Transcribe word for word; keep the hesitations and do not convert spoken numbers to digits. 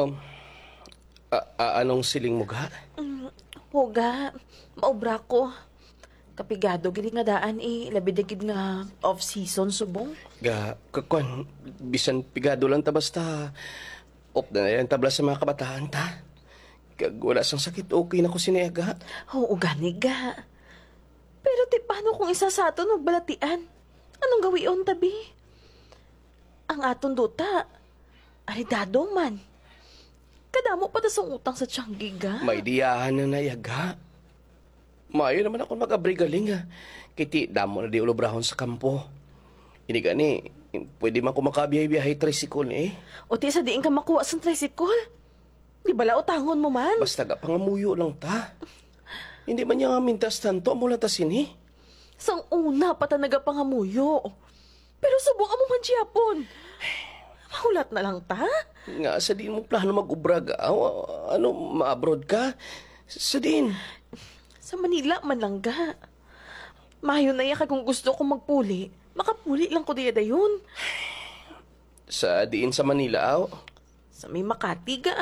Um, a- a- anong siling mo, ga? Mm, Huga, maobra ko. Kapigado gid nga daan eh, labi na gid nga off-season subong. Ga, kakwan, bisan pigado lang ta basta op na lang tabla sa mga kabataan ta. Kag wala sang sakit, okay na ko sini, ga. Oo, gani ga. Pero ti paano kung isa sa aton magbalatian? Anong gawion tabi? Ang aton duta, aridado man. Kadamo pa ta sang utang sa tiyanggi ga. May diyahan na nayaga. Maayo naman ako mag-abri galing, ha. Kiti damo na di ulubrahon sa kampo. Ini gani, pwede man ko makabiyahe-biyahe tricycle, eh. O ti sa diin ka makuha sang tricycle? Di bala utangon mo man? Basta ga pangamuyo lang ta. Hindi man niya nga mintas tanto, amo lang ta sini. Sang una pa ta nagapangamuyo. Pero subong amo man gihapon. Mahulat na lang ta? Nga sa diin mo plano mag-ubra ga? Ano, ma-abroad ka? Sa diin? Sa Manila man lang ga. Mayo na ya kag kung gusto ko magpuli, makapuli lang ko diya dayon. Sa diin sa Manila, aw? Sa may Makati ga.